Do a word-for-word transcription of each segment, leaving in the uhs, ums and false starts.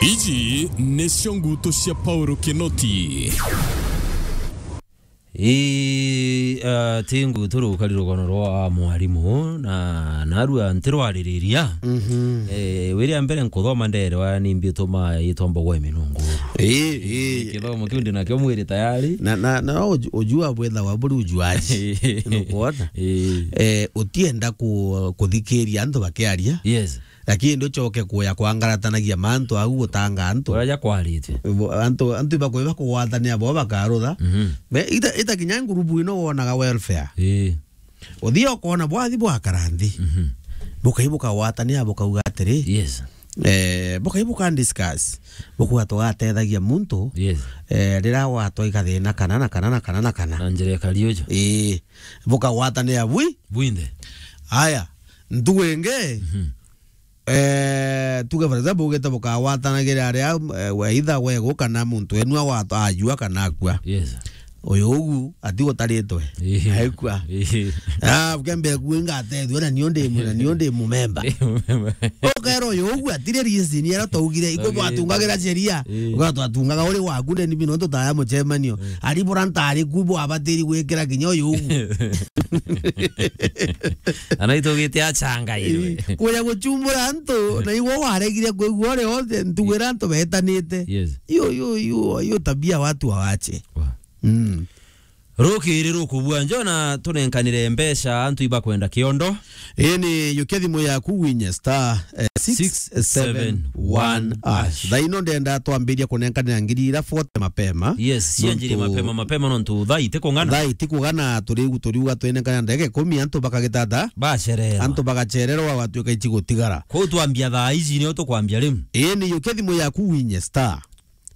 Iji nicio ngutu cia Paulo Kinoti. Ii, ah, ti ngutu rukari rugono rwa mwarimu, na narua ntirwaririria. Mhm. Eh, wiria mbere nkuthoma nderewa ni mbi utuma itwa mbogwa iminunguru. Ii, ii. Kithomo kiu ndi nakio mwiri tayari. Na, na, na uju-, ujua bwethawa buri ujuaji. Nukwona? Ii. Eh, utienda ku-, kuthikiria antu bakiaria. Yes. Lakini nducoke kuya kwangaratanagia mantu au gutanga antu. Uraja kwarite. Bo-, antu, antu ibakwe bakugwatania bo bakarutha. Mhm. Be, ita, ita kinya ngurubu ino wonaga welfare. Ii. Uthia ukona bwathi bwakara nthi. Mhm. Bukai bukagwatania bukauga atiri. Yes. Eh, bukai buka discuss. Bukuga tugatethagia muntu. Yes. Eh, rira gwatwa ikathina kana na kana na kana na kana. Na njira ya Kariujo. Ii. Bukagwatania bwi. Bwinthe. Aya. Ntugu ingi. Mhm. Eh, tuge for example, ugite bukagwatanagira aria, eh, we either wegu kana muntu wenu agwata-, ajua kana akua. Yes. Uyu ugu ati utaritwe. Ii. Aikua. Ii. Ah, kembe ku ngatethua na nio ndi mu-, na nio ndi mumemba. Ndi mumemba. Ukero uyu ugu atire reason era twaugire, iko twatungagira sheria. Ii. Uga twatungaga uri waku ndi ni bino tutaya mucemanio. Ii. Ari bura ntari ku bwabatiri gwikira kinya uyu ugu. Ana itugite achangairwe. Ii, kuja guchumbura antu, na igwe waregire kwigua uri othe, ntugu ira antu betanite. Yes. Iyo, iyo, iyo, iyo tabia watu wawache. Wa. Mm. Rukiri rukubua njo na tunenkanire mbeca antu ibakwenda kiondo. Ii ni yukia thimu yaku winye star, eh, six seven one hash. Thaa ino ndenda twambiria kunenkanira ngiri ira forty mapema. Yes, cianjiri mapema, mapema nontu thaa iti kung'ana. Thaa iti kung'ana, turiu-, turiuga twinengana ndagika ikumi, antu bakagitata. Bacererwa. Antu bagacererwa, gwatuika ici gutigara. Kwou twambia thaa ici, nio tukwambia riu. Ii ni yukia thimu yaku winye star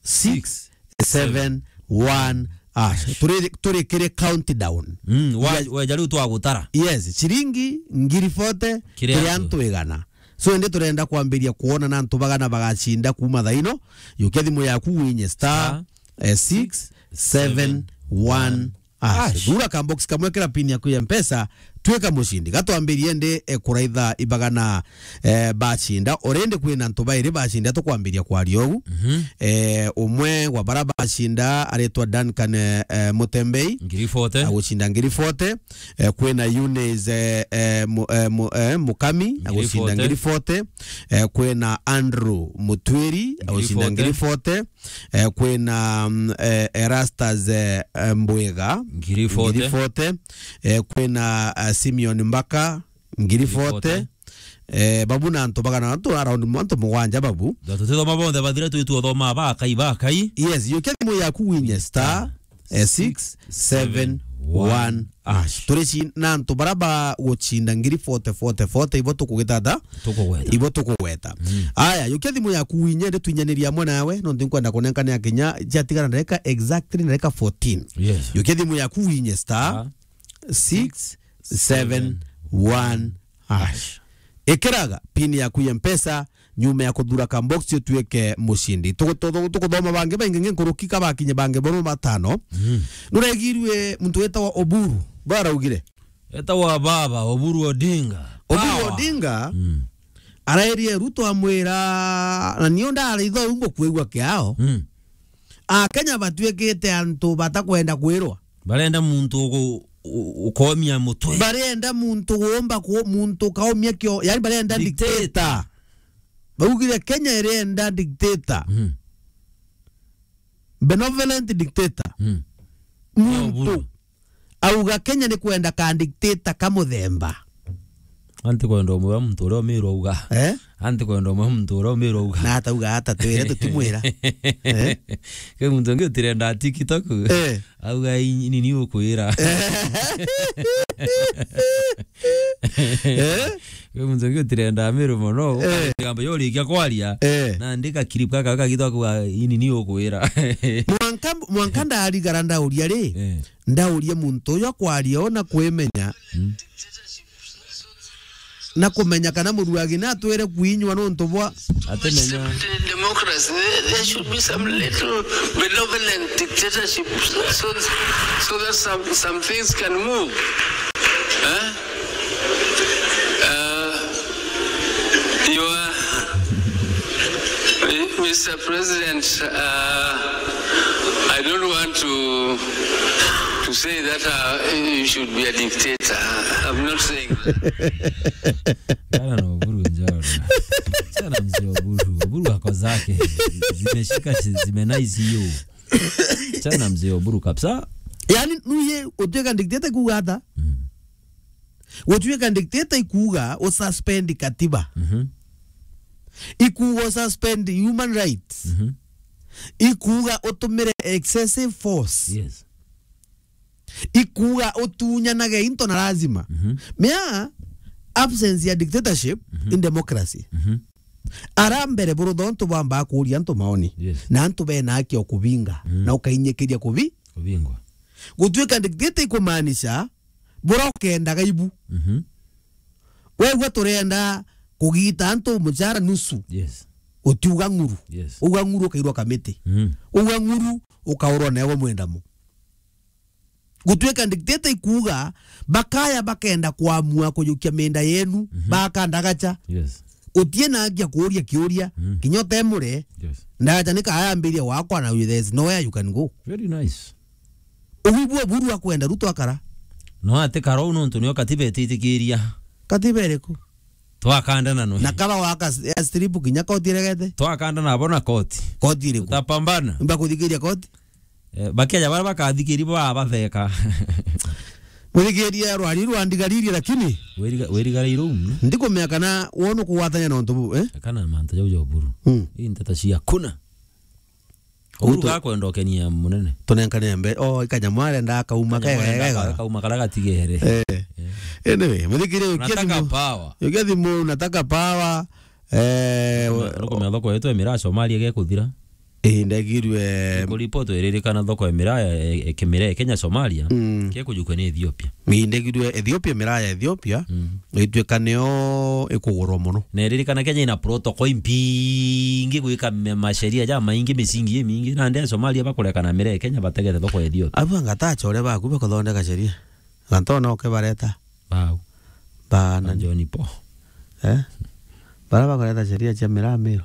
six seven one hash. Turi, turi kiri countdown. Mm, wa-, weja riu twagutara. Yes, ciringi ngiri forty, kiri antu igana. So, indi turenda kwambiria kwona na antu bagana bagacinda kuuma thaa ino. Yukia thimu yaku winye star, eh, six seven one hash. Thura ka box kamwe, kira pin yaku ya Mpesa, twika mucindi. Gatwambirie ndi, eh, kuraitha ibagana, eh, bacinda. Already kwina antu bairi bacinda, tukwambiria kwaria ugu. Mhm. Eh, umwe wa bara bacinda aritwa Duncan, eh, eh, Mutembei. Ngiri forty. Agucinda ngiri forty. Eh, kwina Eunice, eh, eh, mu-, eh, mu-, eh, Mukami, agucinda ngiri forty. Eh, kwina Andrew Mutwiri, agucinda ngiri forty. Eh, kwina, mm, eh, Erastus, eh, eh, Mbwiga, ngiri forty. Eh, kwina, eh, Simeon Mbaka, ngiri forty. Eh, babu na antu bagana, antu around mu-, antu mugwanja babu. Tutithoma bonthe bathira, twi tuothoma bakai, bakai. Yes, yukia thimu yaku winye star, eh, six seven one hash. Turi ci-, na antu bara bagucinda ngiri forty, forty, forty, ibo tukugitata. Tukugweta. Ibo tukugweta. Mm. Aya, yukia thimu yaku winye, ndi twinyaniria amwe nawe, nontu nkwenda kunenkanira kinya ciatigara ndagika exactly ndagika fourteen. Yes. Yukia thimu yaku winye star six seven one hash. Ikiraga pin yaku ya Mpesa, nyuma ya kuthura ka box utuike mucindi. Tugu-, tugu-, tuguthoma bangi baingi ngi nkuruki ka bakinye bangi bono batano. Mm. Nuregirwe muntu wetagwa Oburu, baraugire? Etagwa baba Oburu Odinga. Oburu Odinga, mm, araerie Ruto amwira, na nio ndaritho u ngukwigua kiao. Mm. Akenya batuikite antu batakwenda kwirwa. Barenda muntu ugu-, u-, ukomia mutwe. Barenda muntu uumba ku-, muntu ukaumia kio, yani barenda dictator. Dictator. Baugire Kenya irenda dictator. Mm. Benevolent dictator. Mm. Muntu. Nio buru. Auga Kenya ni kwenda ka dictator ka muthemba. Anti kwenda umwe wa muntu uria umirwa auga. Eh? Anti kwenda umwe wa muntu uria umirwa auga. Na atauga ata twire tutimwira. Eh? Ke muntu ungi utirenda TikTok. Eh. Auga, "Ini ni ukwira." Eh? Ke muntu ungi utirenda amirwe mono. Eh. Kamba yorikia kwaria. Eh. Na ndika clip kaka kagitwa kwa, "Ini ni ukwira." Mwanka, mwanka ndarigara ndauria ri. Eh. Ndauria muntu uyu akwaria ona kwimenya. Mm. Na kumenya kana muruagi na atwire kuinywa nontu bwa atimenya. Democracy, there, there should be some little benevolent dictatorship so, so that some, some things can move. Eh? Uh, you are, eh? Mister President, uh, I don't want to to say that uh, you should be a dictator. I'm not saying that. Chana na Oburu njoro. Chana mzee Oburu. Oburu ako zake. Zimeshika, zimenice hiyo. Chana mzee Oburu kabisa. Yani, nuye utuika dictator kuuga ata? Mm. Gutuika dictator ikuuga ususpend katiba. Mhm. Ikuuga ususpend human rights. Mhm. Ikuuga utumire excessive force. Yes. Ikuuga utunyanage into na lazima. Mhm. Mea absence ya dictatorship, mhm, in democracy. Mhm. Ara mbere buru thontu bwambaa kuuria antu maoni. Yes. Na antu bena haki o kubinga. Mm. Na ukainyikiria kubi-, kubingwa. Gutuika dictator ikumaanisha bura ukendaga ibu. Mhm. Wegua turenda kugita antu muchara nusu. Yes. Utiuga ng'uru. Yes. Uga ng'uru ukairwa kamiti. Mm. Uga ng'uru ukaurwa newe mwendamo. Gutuika dictator ikuuga bakaya bakenda kuamua kujukia mienda yenu, mhm, bakandagacha. Yes. Utie na haki ya kuuria kiuria, mm, kinya utemure. Yes. Ndagacha ni kayambiria wakwa na there's nowhere you can go. Very nice. Ubu bwo Oburu akwenda Ruto akara. No ati kara uu nontu nio katiba ititikiria. Katiba iriku? Twakandana no. Na kaba waka s-, ya strip kinya koti iregete. Twakandana abo na koti. Koti iriku? Tutapambana. Mba kuthikiria koti? Eh, bakeja bara bakathikiri baba batheka. Muthikiria rwari rwa ndigaririe lakini. Wiriga-, wirigarire iru. Ndikumenya kana wona kugwatania na untu bu, eh? Kana mantu jau ja Oburu. Mm. Ii nteto cia kuna. Uhuru gakwenda ukenia munene. Tunenkane mbe-, o, ikanyamu arenda akauma kega. Kauma karia gatigere. Eh. Eh. Anyway, muthikire. Nataka power. Ukia thimu, nataka power. Eh, nukumenya thoko yetu ya miraa Somalia gekuthira. Ii, ndegirwe. Kuripotwa iririkana thoko ya miraa ya, ya, ya kimiraa ya Kenya Somalia, mm, gekujukwa ni Ethiopia. Ii, ndegirwe Ethiopia, miraa ya Ethiopia, mm, ituika niyo ikugurwa muno. Na iririkana Kenya ina protocol impingi gwika me-, masheria ja maingi, misingi imingi. Nandi a Somalia bakurekana miraa ya Kenya bategete thoko ya Ethiopia. Abu angatacha uria baku bakuthondeka sheria. Gantona ukibareta. Bau. Ba na John Paul. Eh? Bara bakareta sheria cia miraa Miru.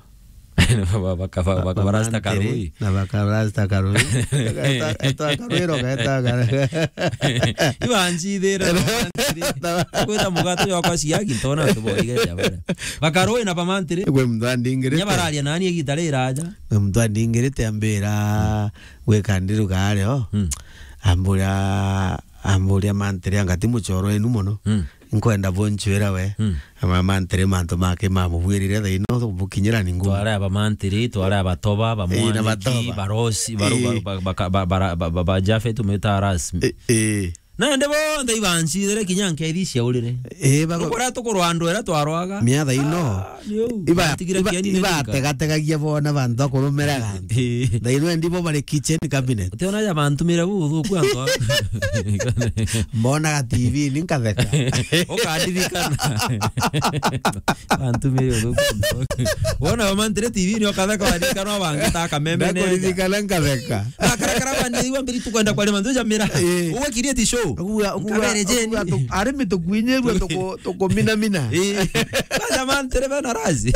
Ba-, baka-, ba-, baka-, barasta Karui. Na baka barasta Karui. Eta, eta Karui ro, eta Karui. Ibanjithire. Kwita mugatu yokwa ciagi ntona tuboige ja bara. Bakarui na bamantiri. Gwe mthandi ngirite. Nya bararia nani igita riraja. Gwe mthandi ngirite ambira gwika ndiruga ario. Mm. Ambura Amburia mantiri anga ti muchoro wenu mono. Mm. Nkwenda bunchwira we. Mm. Ama mantiri mantu make mamubwirire thaino bukinyira ni ngumu. Tware aba mantiri, tware abatoba, ba Ii, na Mwaniki, batoba. Barosi, baru-, Ii. Ba, ba, ba, ba, ba, ba, ba, ba Jafet umwita Aras. Ii, ii. Nandi bonthe ibanchithire kinya nkethi ciaurire. Ii, bago- Tukura tukurwa andu era twarwaga. Miatha ino. Ah, Iba-, Batigire iba-, kieni ni ibategategagia bona bantu akurumira gantu. Ii. Thaino endi bo bari kitchen cabinet. Utiona ja bantumire buthuku antu a- Mbonaga T V ni nkatheka. Ukandirikana. Bantumire uthuku. Wona bamantire T V ni ukatheka, waririkana bangi ta kameme nenda. Ndakuririkana nkatheka. Akarakara bandi iwa mbiri tukwenda kwari mantu ja mira. Ii. Uwe create show. Kuga, kuga, Nkabere Jane. Kuga tu-, arimi tukuinyirwe tuku-, tukuminamina. Ii. Kwanza mantire bena razi.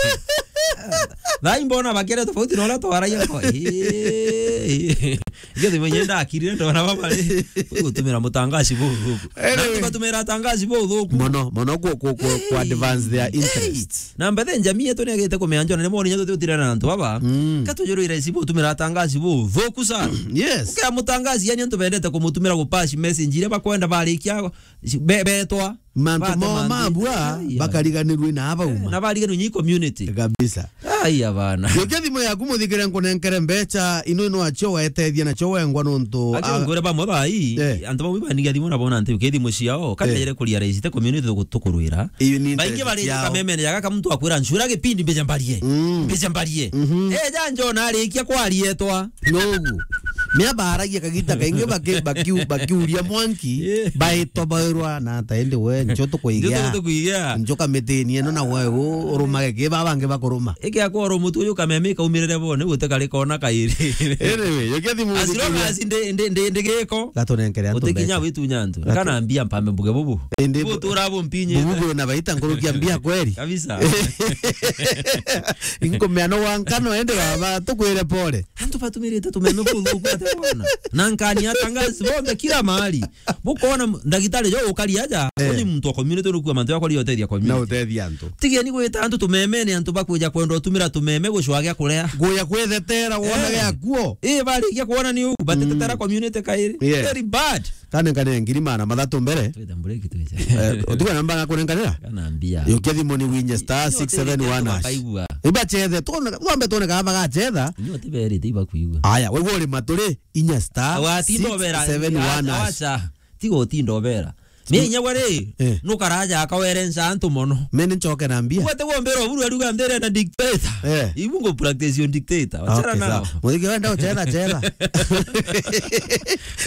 Thai mbona bakere tofauti na uria twaragia ko. Ii. Ndio thimu nyenda akirire ndona baba ri. Gutumira mutangaci buthuku. Anyway. Na batumira tangaci buthuku. Mono, mono ku, ku, ku, ku advance their interests. Na mbethe njamii yetu ni agite kumenya njona ni moni nyetu tutirana na antu baba. Mm. Katujurire sibu utumira tangaci buthuku sana. Yes. Ukira mutangaci yani antu bendete kumutumira gupass message iria bakwenda barikia be-, betwa. Mantu Bate mo mantiri. Mabua, ai, ai. Bakariganirwe na abauma. Eh, na bariganirwe nyi community. Kabisa. Ai, abana. Yokia thimu yaku muthikire nkunenkere mbecha, ino ino acio waetethia nacio wengwa nontu, Aki a- ngure bamwe bai, Eh. antu bamwe banigia thimu na bona nti, uke thimu ciao, Eh. Kanyere kuria raisi te community tuku-, tukurwira. Iyo ni Baingi interest bari ciao. Kameme ya gaka muntu akwira nchura gipindi mbeja mbarie. Mm. Mbeja mbarie. Mhm. Eh, ja njona arikia kwarietwa. Nogu. Mea baragia kagita kaingi baki-, bakiu-, bakiuria mwanki, Yeah. baitwa bairwa na ata indi we, ncho tukuigia. Ncho tukuigia. Ncho kamitinie no na we u-, urumage ki baba bangi bakuruma. Iki akoro mutu uyu kameme kaumirire bo, ni gute kari kona kairi. Anyway, yukia thimu As long uthikiria. as ndi, ndi, ndi, ndi giko. Gatunenkere antu Utikinya mbeca. Witunya antu. Gatu- Kana mbia mpambe mbuge bubu. Indi Bubu bu-, tura bu mpinye. bubu bwina baita nkurukia mbia kweri. Kabisa. Inkumea no wankano ende baba, tukwire pole. Antu batumirite tumeme buthuku ate bona. Na nkani atangazi bonthe kila mahali. Bukona m-, ndagitari jo ukari aja, Eh. uni muntu wa community nukua mantu yakwa rio tethia Na community. utethia antu. Tigeni gwita antu tumemene antu bakwija kwenda utumira tumeme gucwa gia kuria. Guya kwithetera wona Eh. gia kuo. Eh, barikia kuona ni u, batetetera Mm. community kairi. Yeah. Very bad. Kane kane ngiri magana mathatu mbere. Twita break twite. Eh, utuga namba ngakunenkanira? Kana mbia. Yukia thimu ni winye star Nyo six seven one hash. tibakaigua. Ibachethe, tuone, tuambe tuone kana bagachetha. Nyo tiberite ibakuigua. Aya, wigua uri maturi, inya star Awa, tinda obera, six seven one hash. awacha. Tiga utinda obera. Mie inya gwe ri, Eh. nukaraja akawerenca antu mono. Mene nchoke na mbia. Ugwe tigwe mbira oburu aruga ndere na dictator. Eh. Ibu ngo practice yo dictator. Wachana Okay, nao. sawa. Muthiki wenda uchetha, chetha.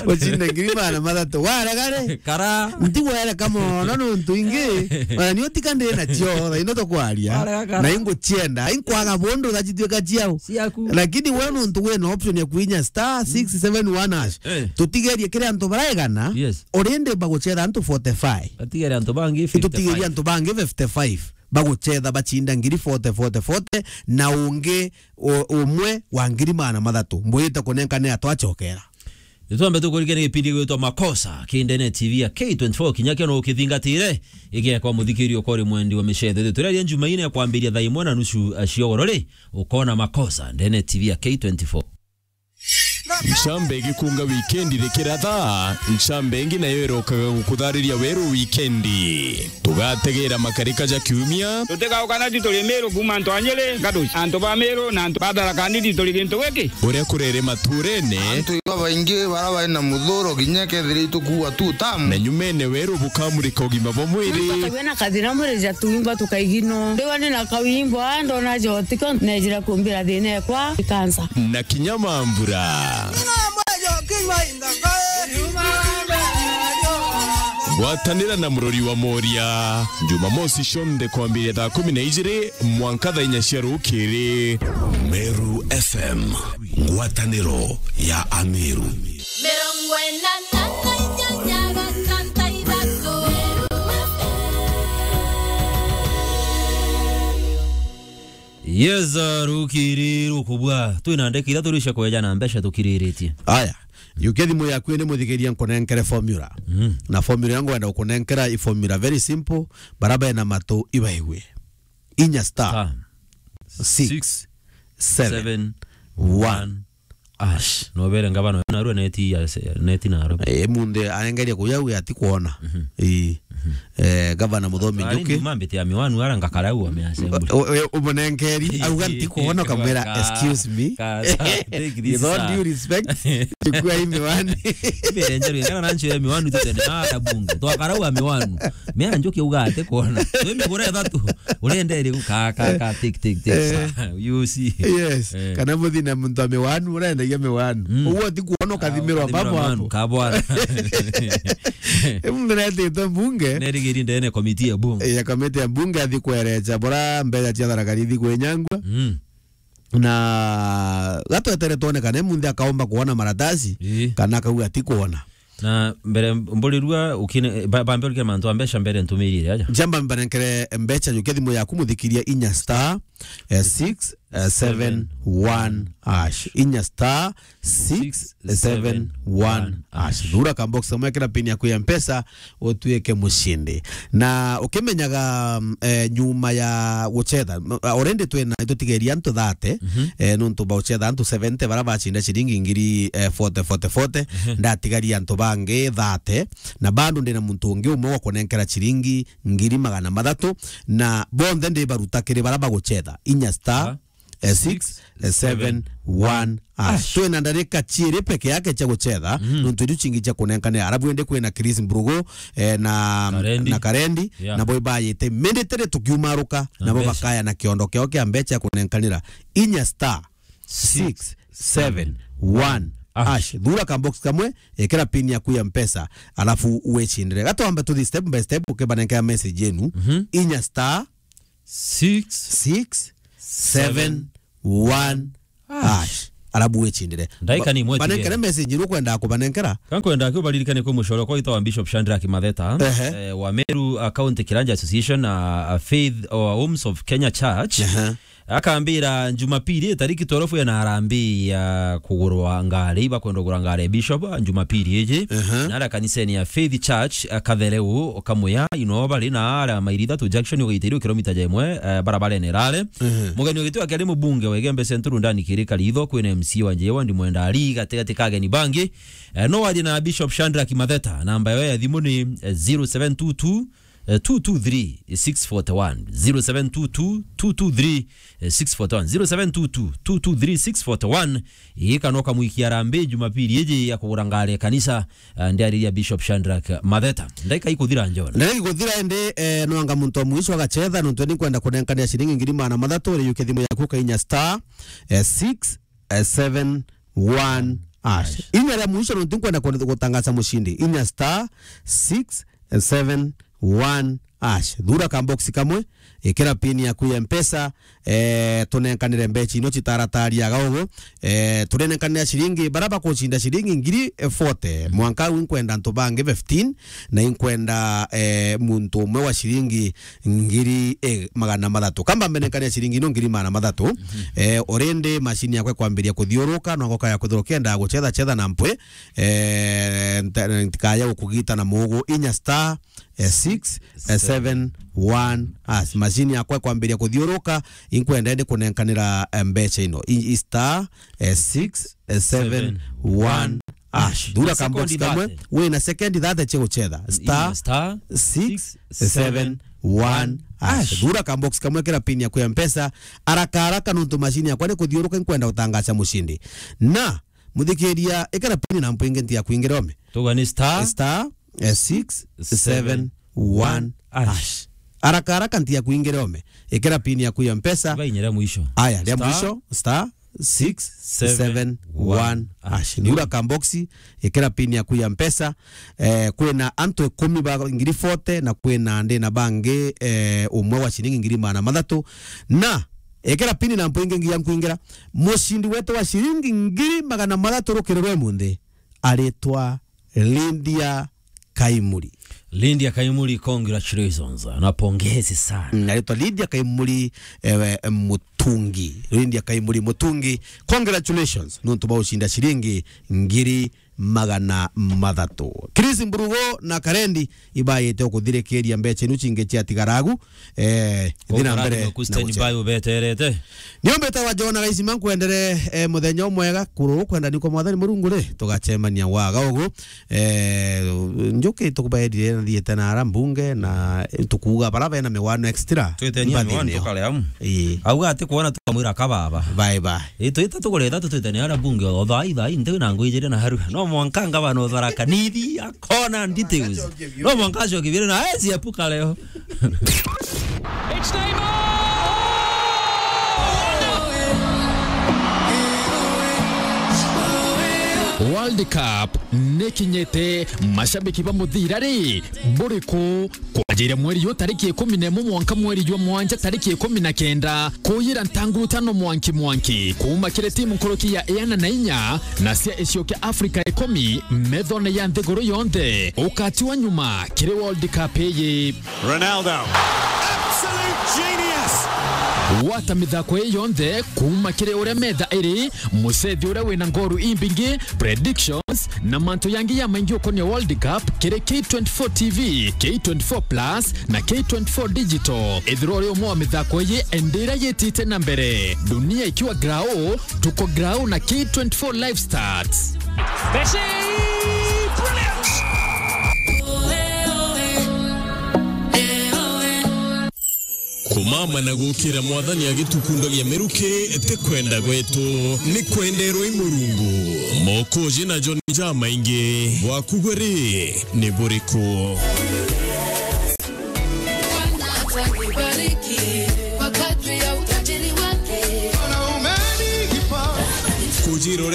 Uchinde ngiri magana mathatu. Warega ri? Kara. Ntigwereka mono nuntu ingi. Ona ni utika ndi na cio, thaino tukwaria. Warega kara. Na inguchienda, inkwaga bundu thachituika ciao. Ciaku. Lakini we nuntu wina option ya kuinya star six seven one hash. Eh. Tutigerie kiri antu baraegana. Yes. Urindi baguchetha antu forty-five. Batigere antu bangi Itutigerie fifty-five. antu bangi fifty-five. Baguchetha bachinda ngiri forty, forty, forty, na ungi u-, umwe wa ngiri magana mathatu. Mbwite kunenkane atwachokera. Nitwambe tukurikia ni gipindi gwitwa Makosa, kindene T V ya K twenty-four, kinya kio no ukithingatire, igekwa muthikiri ukori mwendi wa michetho. Tureria Jumaine ya kwambiria thaa imwe na nusu, a, cia ugoro ri, ukona Makosa, ndene T V ya K twenty-four. Ncamba igikunga wikendi rikiratha, ncamba ingi nayo irokaga gukuthariria weru wikendi. Tugategera makarika ja kiumia. Tutigauka na tu turi Miru kuuma antu a Nyeri, Gaduci. Antu ba Miru na antu ba Tharaka Nithi turi gintu giki. Uria kurere maturene. Antu iba baingi bara bari na muthuro kinya kethira itukuua tu tamu. Na nyumene weru bukamurika ugima bwa mwiri. Bakagua na kathina mwiri ja tuimba tukaigino. Ndiwa ni na kawimbo, ndona jotiko, nejira kumbira thina ekwa, ikansa. Na kinya mambura. Ngwatanira na murori wa Moria. Jumamosi cionthe kwambiria thaa kumi na ijiri mwanka thaa inya cia rukiri. Meru F M, ngwataniro ya Ameru. Mirongo ina na inyanya gatanta ithatu. Yes, uh, rukiri rukubwa. Twina ndeki ithatu cia kweja na mbeca tukiriritie. Aya, yukia thimu yaku ni muthikiria nkunenkere formula. Mm. Na formula yangu wenda kunenkera i formula very simple, bara bena matu ibaigue. Inya star. Star. Six, Six, seven, seven, one, one, hash. No bere ngabana narua neti ya se-, neti naro. Eh, munde arengeria kuya uya ati kuona. Mhm. Ii. Mhm. Eh, gavana Muthomi Ari Njuki. Mambite ya miwanu ara ngakara u ame assembly. O-, o-, umunenkeri, auga nti kuona, kamwira, Ka-, "Excuse me." ka-, take this, With all sir. due respect, chukua hii miwani. Mbere njeru, ngana nancho ya miwanu tutende na ara bunge. Twakara u ame miwanu. Mea Njuki uga ati kuona. Twe migura ithatu. Urenda iri ka, ka, ka, take, take, take, Eh. sir. You see. Yes. Eh. Kana muthina muntu wa miwanu, urendagia miwanu. Mm. Uguo ti kuona ukathimirwa Ukathimirwa babo miwanu, hapo. kabwara. Mundu netitwe mbunge. Nerigiri ndene komiti ya bunge. Eh, ya komiti ya bunge athi kwerecha bora mbeca cia Tharaka Nithi kwinyangwa. Mm. Na gatwetere tuone kana munthi akaomba kuona maratasi, Ii. kana akauga ati kuona. Na mbere mburirua ukine, ba-, bambe urike mantu a mbeca mbere ntumirire aja. Jamba mbanenkere mbeca, yukia thimu yaku muthikiria inya star, eh, six, eh, seven, one hash. Inya star, six, seven, one hash. Thura ka box kamwe, kira pin yaku ya Mpesa, utuike mushindi. Na ukimenyaga, mm, eh, nyuma ya guchetha, m-, already twina, itutigeria antu thirty, Mhm. eh, nuntu ba guchetha antu seventy bara bacinda ciringi ngiri, eh, forty, forty, forty, Mhm. ndatigaria antu bangi thirty, na bado ndina muntu ungi umwe wa kunenkera ciringi ngiri magana mathatu, na bonthe ndibaruta kiri bara baguchetha inya star, Ah. eh, six, eh, seven, one hash. Twina ndarika ciiri peke yake cia guchetha, Mhm. nuntu iria cingi cia kunenkanira. Arabu indi kwina Chris Mbrugu, eh, na, Karendi. na Karendi, Yeah. nabo ibayite. Mindi tiri tukiumaruka, Na nabo mbeca. bakaya na kiondo kiao kia mbeca ya kunenkanira. Inya star, six, seven, one, Ash. Ash. Thura ka box kamwe, ikira pin yaku ya Mpesa, alafu wicindire. Gatwambe tuthi step by step, ukibanenkea message yenu. Mhm. Inya star Six. Six, seven, one, hash. Hash. Alafu wicindire. Ndaika ni imwe. Ba-, banenkere tigere message iria ukwenda kubanenkera. Ka nkwenda ki ubaririkane kwi mucore kwa itwa Bishop Shadrack Matheta, ehe, eh, wa Meru, uh, County Kiranja Association, uh, uh, Faith, uh, Homes of Kenya Church. Ehe. Akambira Jumapili tariki twelve ena harambee ya kugurwa ngari, ibakwenda kugura ngari ya Bishop, Jumapili iji. Ehe. Na aria kanisene ya Faith Church, uh, Kathereu, Kamuya, ino bari na aria mairi ithatu junction ugaithiria kilomita jemwe, eh, barabarene irare. Ehe. Mugeni wa gitio akiari mubunge wa Igembe Central Ndani Kirika Ritho, kwina M C A wa Njewa Ndimwenda Ari, gatigati ka ageni bangi. Eh, no warie na Bishop Shadrack Matheta, namba yawe ya thimu ni, eh, zero seven two two, eh, two two three, six forty one, zero seven two two, two two three, six forty one, zero seven two two, two two three, six forty one. Ii kana ukamwikia harambee Jumapili iji ya kugura ngari ya kanisa, eh, ndiariria Bishop Shadrack Matheta. Ndaika ikuthira, John. Ndaika ikuthira indi, eh, nwanga muntu wa mwisho agachetha, nontu ni nkwenda kunenkania ciringi ngiri magana mathatu, uri yuke thimu yaku ukainya star, eh, six, eh, seven one hash. Hash. Inya ria mwisho, nontu nkwenda ku-, gutangaza mushindi. Inya star six seven one hash. Thura ka box kamwe, ikira pin yaku ya Mpesa, eh, tunenkanire mbecha ino citarataria gaogo. Eh, turenenkanira ciringi, bara bakucinda ciringi ngiri forty. Mwanka au inkwenda antu bangi fifteen, na inkwenda, eh, muntu umwe wa ciringi ngiri, eh, magana mathatu. Kamba mbenenkania ciringi ino ngiri magana mathatu. Mhm. Eh, already machine yakwa ikwambiria kuthiuruka, no ngoka ya kuthiuruka, nda guchetha chetha na mpwi. Eh, nta-, ntikaya gukugita na mugu. Inya star, eh, six, eh, seven one hash. Machine yakwa ikwambiria kuthiuruka, inkwenda indi kunenkanira, eh, mbecha ino. I, i star, eh, six, eh, seven one hash. Thura ka box kamwe, wina sekondi thirty cia guchetha. Star, six, seven one hash. Thura ka box kamwe, kira pin yaku ya Mpesa, haraka haraka, nontu machine yakwa ni kuthiuruka, inkwenda gutangaza mushindi. Na, muthikiria, ikira pin na mpwi ingi ntiga kuingira ome. Tuga ni star, star, eh, six seven one hash. Haraka haraka ntiga kuingira ome. Ikira pin yaku ya Mpesa. Tuga inya ria mwisho. Aya, ria mwisho, star six seven one hash. Thura ka box, ikira pin yaku ya Mpesa. Eh, kwina antu ikumi ba ngiri forty, na kwina ndina bangi, eh, umwe wa ciringi ngiri magana mathatu. Na, ikira pin na mpwi ingi nginya nkuingira. Mucindi wetu wa ciringi ngiri magana mathatu rukiri rwa imunthi aritwa Lydia Kaimuri. Lydia Kaimuri, congratulations. Na pongezi sana. Mm, aritwa Lydia Kaimuri, ewe, Mutungi. Lydia Kaimuri Mutungi, congratulations. Nontu bwa ucinda ciringi ngiri magana mathatu. Chris Mburugo na Karendi ibayite ukuthirikiria mbecha inu cingi ciatigaragu. Eh, ithi na mbere na guchetha. Standby ubeterete. Niombete wa Jona Gaisima, nkwendere, eh, muthenya umwega, kururu kwenda ni kwa Mwathani Murungu ri, tugacemania waga ugu. Eh, njuki tukubaerire na thiete na ara mbunge na tukuuga bara bena miwano extra. Twitenia miwano tukare amu. Ii. Auga ati kuona tukamwira kababa. Bye bye. Ii, twita tugure ithatu twitania ara mbunge o thai thai nti na ngui ijiri na haru. No mwanka ngabana uthara kanithi akona details. No mwanka acio kibire na ezi epuka leo. It's Neymar! World Cup nikinyite, mashabiki ba muthira ri, buriku? Kwanjiria mweri yu tariki ikumi na imwe mwanka mweri jwa mwanja tariki ikumi na kenda, kuyira ntanguru tano mwanki mwanki, kuuma kiri timu nkuruki ya iana na inya na cia icio kia Afrika ikumi methone ya nthiguru yonthe, ukatiwa nyuma kiri World Cup iyi. Ronaldo. Absolute genius. Gwata mithako ii yonthe kuuma kiri uria metha iri, mucethi uria wina ngoru imbingi, predictions, na mantu yangi ya maingi ukonia World Cup kiri K twenty-four T V, K twenty-four Plus, na K twenty-four Digital. Ithirwa uri umwe wa mithako iyi, endira yitite na mbere. Dunia ikiwa grau, tuko grau na K twenty-four Live Stats. Messi! Brilliant! Kumama na gukira Mwathani agitukundagia miruki, ti kwenda gwetu, ni kwenderwa i Murungu. Mokoji na John jamaingi, bwaku gwe ri, ni buriku? Kujira uria